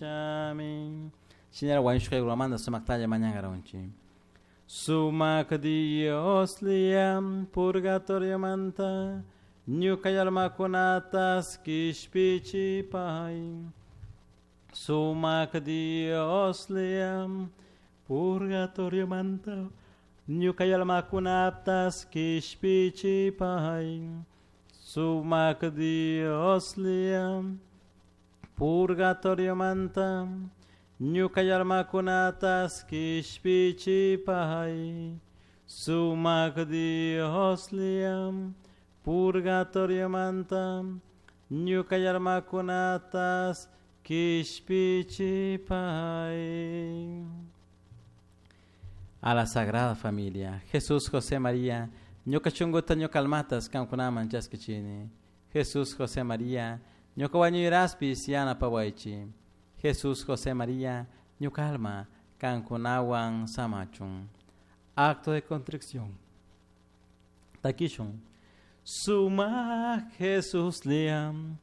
Chami. Shinara wañushkaykunamanta sumaktalla mañankaranchik. Sumak Dios liam purgatoriomanta ñuka almakunatas kishpichipay. Sumak Dios liam purgatoriomanta ñuka almakunatas kishpichipay. Sumak Dios liam purgatoriomanta ñuka almakunatas kishpichipay. Sumak Dios liam purgatoriomanta ñuka almakunatas kishpichipay. A la Sagrada Familia, Jesús, José, María, ñuka shunkuta ñuka almatas kankunaman chaskichini. Jesús, José, María, ñuka wañuyraspis yanapawaychik. Jesús, José, María, ñuka alma kankunawan samachun. Acto de contrición. Takishun. Suma Jesús liam.